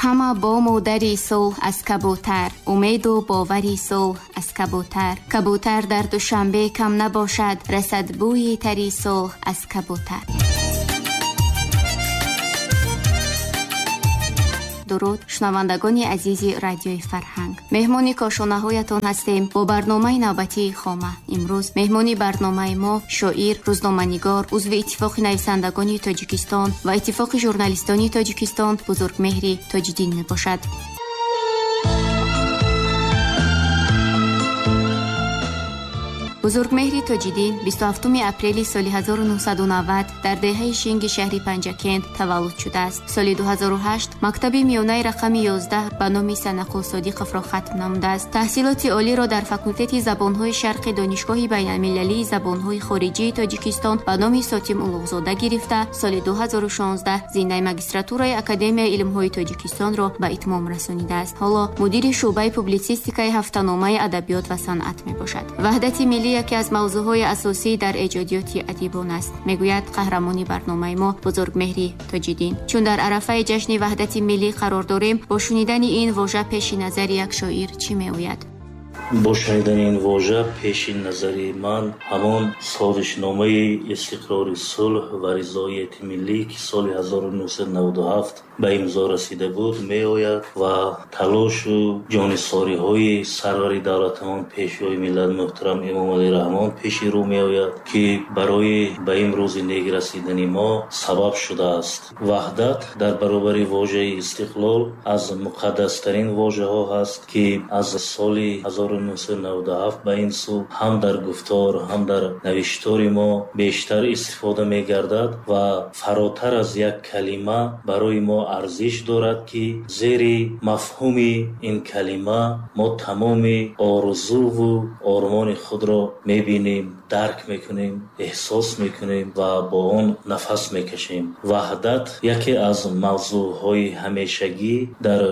Ҳама бому дари сулҳ аз кабутар, умеду бовари сулҳ аз кабутар. Кабутар дар Душанбе кам набошад, расад бӯи тари сулҳ аз кабутар. Дуруд, шунавандагони азизи радиои Фарҳанг. Меҳмони кошонаҳоятон ҳастем бо барномаи навбатии Хома. Имрӯз меҳмони барномаи мо шоир, рӯзноманигор, узви Иттифоқи нависандагони Тоҷикистон ва Иттифоқи журналистони Тоҷикистон Бузургмеҳри Тоҷиддин мебошад. Бузургмеҳри Тоҷиддин 27 апрели соли 1990 дар деҳаи Шинги шаҳри Панҷакент таваллуд шудааст. Соли 2008 мактаби миёнаи рақами 11 ба номи Санақул Содиқовро хатм намудааст. Таҳсилоти олиро дар факултети забонҳои шарқи Донишгоҳи байналмилалии забонҳои хориҷии Тоҷикистон ба номи Сотим Улуғзода гирифта, соли 2016 зинаи магистратураи Академияи илмҳои Тоҷикистонро ба итмом расонидааст. Ҳоло мудири шӯъбаи публитсистикаи ҳафтаномаи адабиёт ва санъат мебошад. Ваҳдати миллӣ яке аз мавзӯъҳои асосӣ дар эҷодиёти адибон аст, мегӯяд қаҳрамони барномаи мо Бузургмеҳри Тоҷиддин. Чун дар арафаи ҷашни ваҳдати миллӣ қарор дорем, бо шунидани ин вожа пеши назари як шоир чӣ меояд? Бо шунидани ин вожа пеши назари ман ҳамон созишномаи истиқрори сулҳ ва ризоияти миллӣ, ки соли 1997 ба имзо расида буд, меояд ва талошу ҷонисориҳои сарвари давлатамон, пешвои миллат муҳтарам Эмомалӣ Раҳмон пеши рӯ меояд, ки барои ба имрӯзи нек расидани мо сабаб шудааст. Ваҳдат дар баробари вожаи истиқлол аз муқаддастарин вожаҳо ҳаст, ки аз соли 1997 ба ин сӯ ҳам дар гуфтор, ҳам дар навиштори мо бештар истифода мегардад ва фаротар аз як калима барои мо арзиш дорад, ки зери мафҳуми ин калима мо тамоми орзуву ормони худро мебинем, дарк мекунем, эҳсос мекунем ва бо он нафас мекашем. Ваҳдат яке аз мавзӯъҳои ҳамешагӣ дар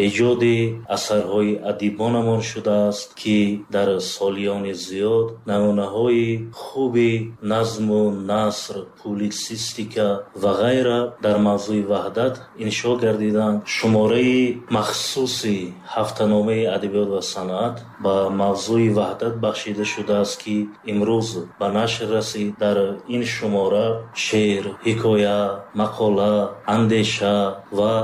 эҷоди асарҳои адибонамон шудааст, ки дар солиёни зиёд намунаҳои хуби назму наср, публитсистика ва ғайра дар мавзӯи ваҳдат иншо гардиданд. Шумораи махсуси ҳафтаномаи адабиёт ва санъат ба мавзӯи ваҳдат бахшида шудааст, ки имрӯз ба нашр расид. Дар ин шумора шеър, ҳикоя, мақола, андеша ва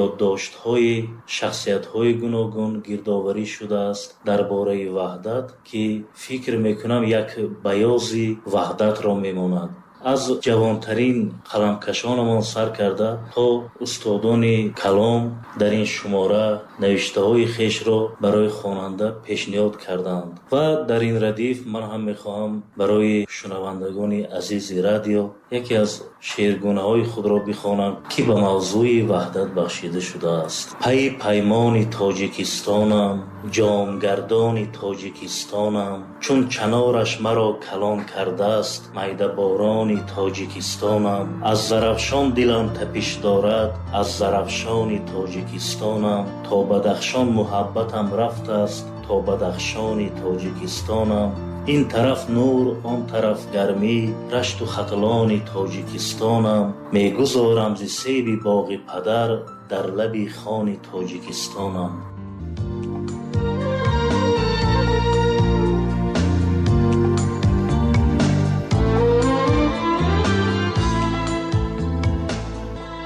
ёддоштҳои шахсиятҳои гуногун гирдоварӣ шудааст дар бораи ваҳдат, ки фикр мекунам як баёзи ваҳдатро мемонад. Аз ҷавонтарин қаламкашонамон сар карда то устодони калом дар ин шумора навиштаҳои хешро барои хонанда пешниҳод карданд. Ва дар ин радиф ман ҳам мехоҳам барои шунавандагони азизи радио яке аз шеъргунаҳои худро бихонам, ки ба мавзӯи ваҳдат бахшида шудааст. Пайи паймони Тоҷикистонам, ҷомгардони Тоҷикистонам, чун чанораш маро калон кардааст, майдаборони Тоҷикистонам. Аз Зарафшон дилам тапиш дорад, аз Зарафшони Тоҷикистонам. То Бадахшон муҳаббатам рафтааст, то Бадахшони Тоҷикистонам. Ин тараф нур, он тараф гармӣ, рашту хатлони Тоҷикистонам. Мегузорам зи себи боғи падар, дар лаби хони Тоҷикистонам.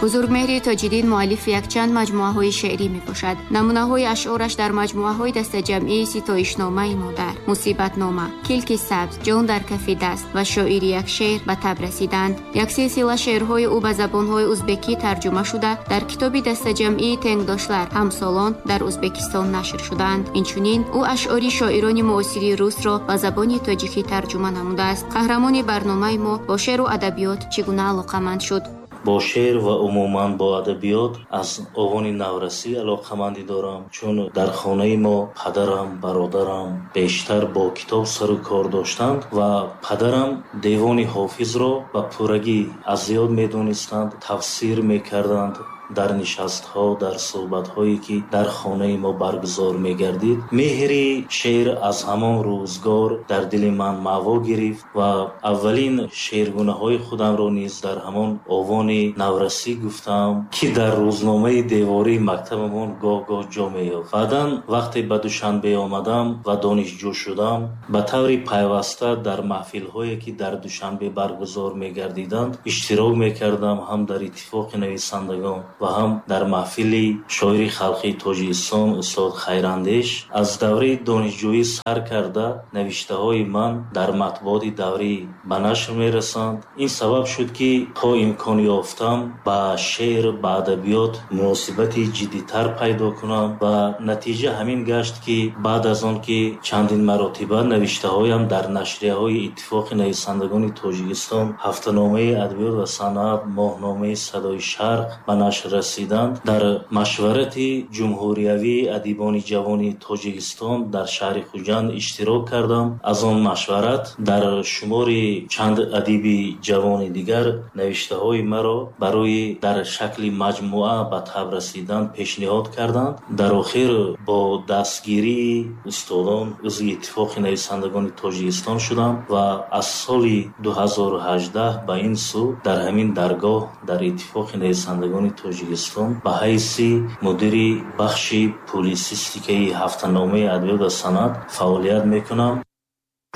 Бузургмеҳри Тоҷиддин муаллифи якчанд маҷмӯаҳои шеърӣ мебошад. Намунаҳои ашъораш дар маҷмӯаҳои дастаҷамъии Ситоишномаи модар, Мусибатнома, Килки сабз, Ҷон дар кафи даст ва Шоири як шеър ба таб расиданд. Як силсила шеърҳои ӯ ба забонҳои узбекӣ тарҷума шуда, дар китоби дастаҷамъии Тенгдошлар ҳамсолон дар Узбекистон нашр шудаанд. Инчунин ӯ ашъори шоирони муосири русро ба забони тоҷикӣ тарҷума намудааст. Қаҳрамони барномаи мо бо шеъру адабиёт чӣ гуна алоқаманд шуд? Бо шеър ва умуман бо адабиёт аз овони наврасӣ алоқамандӣ дорам, чун дар хонаи мо падарам, бародарам бештар бо китоб сару кор доштанд ва падарам девони Ҳофизро ба пуррагӣ аз ёд медонистанд, тафсир мекарданд. Дар нишастҳо, дар суҳбатҳое ки дар хонаи мо баргузор мегардид, меҳри шеър аз ҳамон рӯзгор дар дили ман маъво гирифт ва аввалин шеъргунаҳои худамро низ дар ҳамон овони наврасӣ гуфтам, ки дар рӯзномаи девории мактабамон гоҳ-гоҳ ҷо меёфт. Баъдан вақте ба Душанбе омадам ва донишҷӯ шудам, ба таври пайваста дар маҳфилҳое ки дар Душанбе баргузор мегардиданд иштирок мекардам, ҳам дар Иттифоқи нависандагон ва ҳам дар маҳфили шоири халқии Тоҷикистон устод Хайрандеш. Аз давраи донишҷӯӣ сар карда навиштаҳои ман дар матбуоти даврӣ ба нашр мерасанд. Ин сабаб шуд, ки то имкон ёфтам ба шеър, ба адабиёт муносибати ҷиддитар пайдо кунам ва натиҷа ҳамин гашт, ки баъд аз он ки чандин маротиба навиштаҳоям дар нашрияҳои Иттифоқи нависандагони Тоҷикистон, ҳафтаномаи адабиёт ва санъат, моҳномаи Садои Шарқ ба нашр расиданд, дар машварати ҷумҳуриявии адибони ҷавони Тоҷикистон дар шаҳри Хуҷанд иштирок кардам. Аз он машварат дар шумори чанд адиби ҷавони дигар навиштаҳои маро барои дар шакли маҷмӯа ба таб расидан пешниҳод карданд. Дар охир бо дастгирии устодон узви Иттифоқи нависандагони Тоҷикистон шудам ва аз соли 2018 ба ин сӯ дар ҳамин даргоҳ дар Иттифоқи нависандагони Тоҷикистон ба ҳайси мудири бахши публисистикаи ҳафтаномаи адабиёт ва санъат фаъолият мекунам.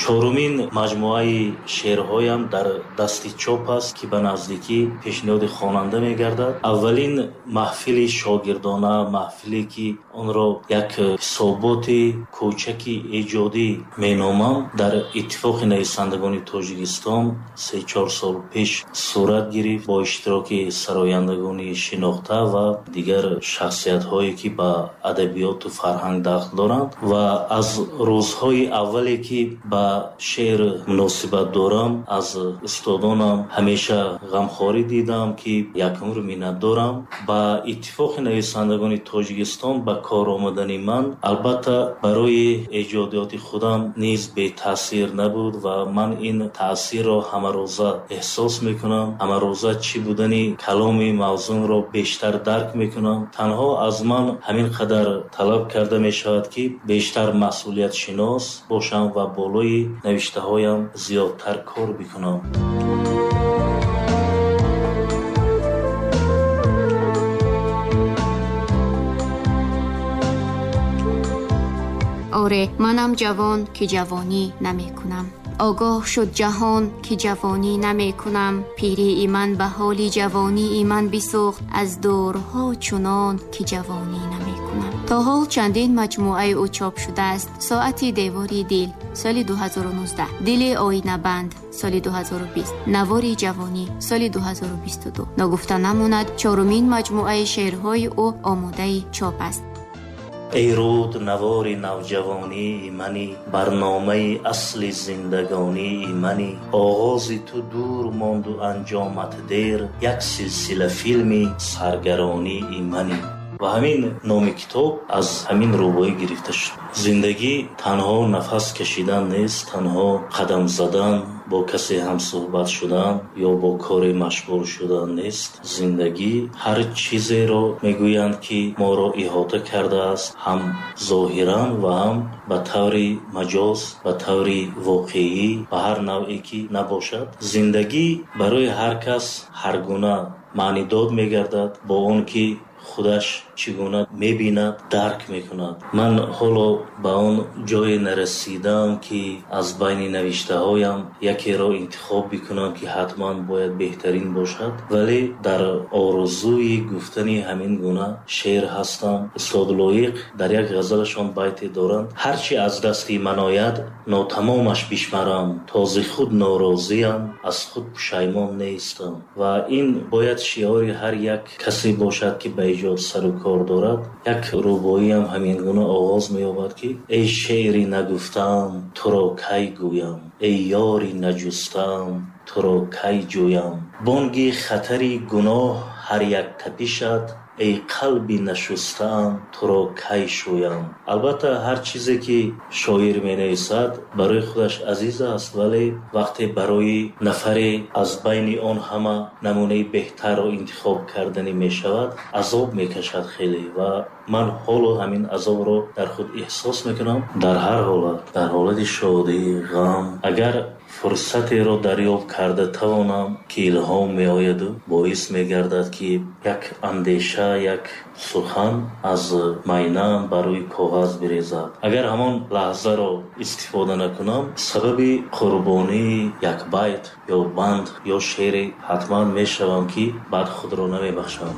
Чорумин маҷмӯаи шеърҳоям дар дасти чоп аст, ки ба наздикӣ пешниҳоди хонанда мегардад. Аввалин маҳфили шогирдона, маҳфиле ки онро як ҳисоботи кӯчаки эҷодӣ меномам, дар Иттифоқи нависандагони Тоҷикистон 3-4 сол пеш сурат гирифт бо иштироки сарояндагони шинохта ва дигар шахсиятҳое ки ба адабиёту фарҳанг дахл доранд. Ва аз рӯзҳои аввале ки ба шеър муносибат дорам, аз устодонам ҳамеша ғамхорӣ дидам, ки як умр миннатдорам. Ба Иттифоқи нависандагони Тоҷикистон ба кор омадани ман албатта барои эҷодиёти худам низ бетаъсир набуд ва ман ин таъсирро ҳамарӯза эҳсос мекунам. Ҳамарӯза чӣ будани каломи мавзунро бештар дарк мекунам. Танҳо аз ман ҳамин қадар талаб карда мешавад, ки бештар масъулиятшинос бошам ва болои навиштаҳоям зиёдтар кор бикунам. Оре, манам ҷавон, ки ҷавонӣ намекунам. Огоҳ шуд ҷаҳон, ки ҷавонӣ намекунам. Пирии ман ба ҳоли ҷавонии ман бисӯхт, аз дурҳо чунон ки ҷавонӣ намекунам. То ҳол чандин маҷмӯаи ӯ чоп шудааст. Соати девори дил соли 2019, Дили оинабанд соли 2020, Навори ҷавонӣ соли 2022. Ногуфта намонад, чорумин маҷмӯаи шеърҳои ӯ омодаи чоп аст. Эй руд, навори навҷавонии мани, барномаи асли зиндагонии мани, оғози ту дур монду анҷомат дер, як силсила филми саргаронии мани. Ва ҳамин номи китоб аз ҳамин рубоӣ гирифта шуд. Зиндагӣ танҳо нафас кашидан нест, танҳо қадам задан, бо касе ҳамсӯҳбат шудан ё бо коре машғул шудан нест. Зиндагӣ ҳар чизеро мегӯянд, ки моро иҳота кардааст, ҳам зоҳиран ва ҳам ба таври маҷоз, ба таври воқеӣ, ба ҳар навъе ки набошад. Зиндагӣ барои ҳар кас ҳар гуна маънидод мегардад, бо он ки худаш чӣ гуна мебинад, дарк мекунад. Ман ҳоло ба он ҷое нарасидаам, ки аз байни навиштаҳоям якеро интихоб бикунам, ки ҳатман бояд беҳтарин бошад, вале дар орзуи гуфтани ҳамин гуна шеър ҳастам. Устод Лоиқ дар як ғазалашон байте доранд: ҳарчи аз дасти ман ояд, нотамомаш бишмарам, то зи худ норозиям, аз худ пушаймон нестам. Ва ин бояд шиори ҳар як касе бошад, ки ба эҷод сару кор дорад. Як рубоиам ҳамин гуна оғоз меёбад, ки эй шеъри нагуфтаам, туро кай гӯям, эй ёри наҷустаам, туро кай ҷӯям. Бонги хатари гуноҳ ҳар як тапишад Эй қалби нашустаам, туро кай шӯям. Албатта, ҳар чизе ки шоир менависад, барои худаш азиз аст, вале вақте барои нафаре аз байни он ҳама намунаи беҳтарро интихоб карданӣ мешавад, азоб мекашад хеле, ва ман ҳоло ҳамин азобро дар худ эҳсос мекунам. Дар ҳар ҳолат, дар ҳолати шодӣ, ғам, агар фурсатеро дарёфт карда тавонам, ки илҳом меояду боис мегардад, ки як андеша, як сухан аз майнаам бар рӯи коғаз бирезад, агар ҳамон лаҳзаро истифода накунам, сабаби қурбонии як байт ё банд ё шеъре ҳатман мешавам, ки баъд худро намебахшам.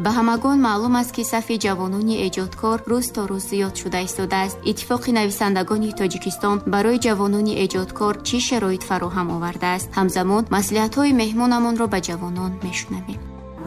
Ба ҳамагон маълум аст, ки сафи ҷавонони эҷодкор рӯз то рӯз зиёд шуда истодааст. Иттифоқи нависандагони Тоҷикистон барои ҷавонони эҷодкор чӣ шароит фароҳам овардааст? Ҳамзамон маслиҳатҳои меҳмонамонро ба ҷавонон мешунавем.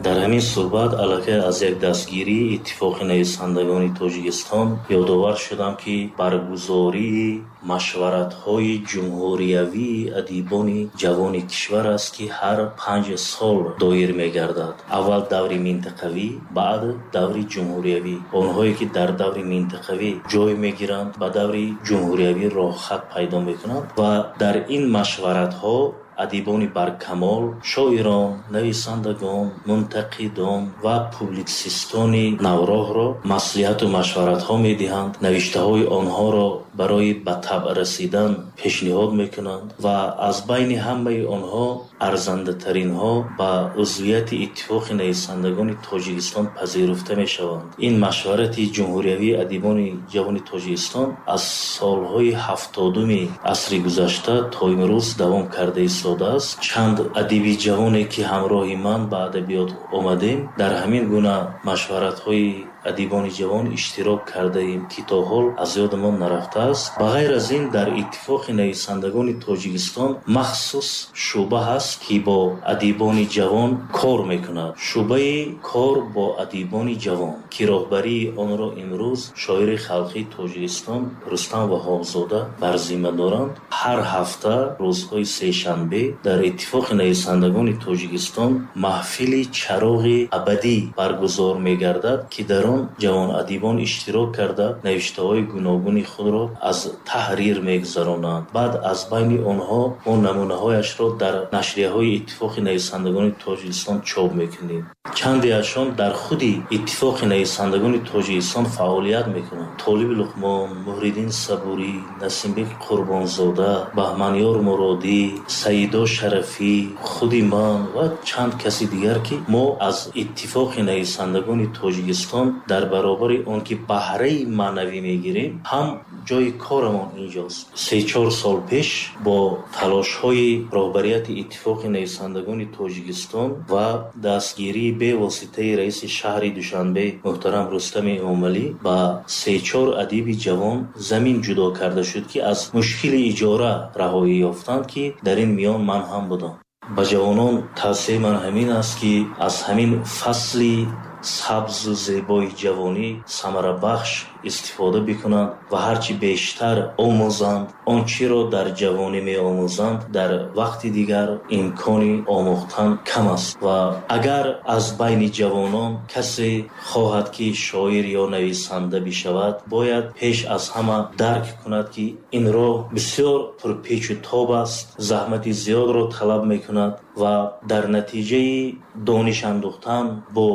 Дар ҳамин суҳбат аллакай аз як дастгирии Иттифоқи нависандагони Тоҷикистон ёдовар шудам, ки баргузории машваратҳои ҷумҳуриявии адибони ҷавони кишвар аст, ки ҳар 5 сол доир мегардад. Аввал даври минтақавӣ, баъд даври ҷумҳуриявӣ. Онҳое ки дар даври минтақавӣ ҷой мегиранд, ба даври ҷумҳуриявӣ роҳхат пайдо мекунанд, ва дар ин машваратҳо адибони баркамол, шоирон, нависандагон, мунтақидон ва публитсистони навроҳро маслиҳату машваратҳо медиҳанд, навиштаҳои онҳоро барои ба табъ расидан пешниҳод мекунанд ва аз байни ҳамаи онҳо арзандатаринҳо ба узвияти Иттифоқи нависандагони Тоҷикистон пазируфта мешаванд. Ин машварати ҷумҳуриявии адибони ҷавони Тоҷикистон аз солҳои 70-уми асри гузашта то имрӯз давом карда истодааст. Чанд адиби ҷавоне, ки ҳамроҳи ман ба адабиёт омадем, дар ҳамин гуна машваратҳои адибони ҷавон иштирок кардаем, ки то ҳол аз ёдамон нарафтааст. Ба ғайр аз ин, дар Иттифоқи нависандагони Тоҷикистон махсус шӯъба ҳаст, ки бо адибони ҷавон кор мекунад, шӯъбаи кор бо адибони ҷавон, ки роҳбарии онро имрӯз шоири халқии Тоҷикистон Рустам Ваҳобзода бар зимма доранд. Ҳар ҳафта рӯзҳои сешанбе дар Иттифоқи нависандагони Тоҷикистон маҳфили «Чароғи абадӣ» баргузор мегардад, ки дар он ҷавонадибон иштирок карда, навиштаҳои гуногуни худро аз таҳрир мегузаронанд. Баъд аз байни онҳо мо намунаҳояшро дар нашрияҳои Иттифоқи нависандагони Тоҷикистон чоп мекунем. Чандеашон дар худи Иттифоқи нависандагони Тоҷикистон фаъолият мекунанд: Толиби Луқмон, Муҳриддин Сабурӣ, Насимбек Қурбонзода, Баҳманёр Муродӣ, Саидо Шарафӣ, худи ман ва чанд каси дигар, ки мо аз Иттифоқи нависандагони Тоҷикистон дар баробари он ки баҳраи маънавӣ мегирем, ҳам ҷои корамон инҷост. 3-4 сол пеш бо талошҳои роҳбарияти Иттифоқи нависандагони Тоҷикистон ва дастгирии бевоситаи раиси шаҳри Душанбе муҳтарам Рустами Эмомалӣ ба се-чор адиби ҷавон замин ҷудо карда шуд, ки аз мушкили иҷора раҳоӣ ёфтанд, ки дар ин миён ман ҳам будам. Ба ҷавонон тавсияи ман ҳамин аст, ки аз ҳамин фасли сабзу зебои ҷавонӣ самарабахш истифода бикунанд ва ҳарчи бештар омӯзанд. Он чиро дар ҷавонӣ меомӯзанд, дар вақти дигар имкони омӯхтан кам аст. Ва агар аз байни ҷавонон касе хоҳад, ки шоир ё нависанда бишавад, бояд пеш аз ҳама дарк кунад, ки ин роҳ бисёр пурпечу тоб аст, заҳмати зиёдро талаб мекунад ва дар натиҷаи дониш андӯхтан бо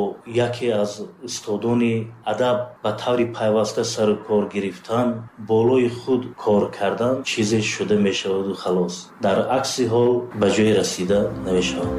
яке аз устодони адаб ба таври пайваста сару кор гирифтан, болои худ кор кардан, чизе шуда мешаваду халос. Дар акси ҳол ба ҷое расида намешавад.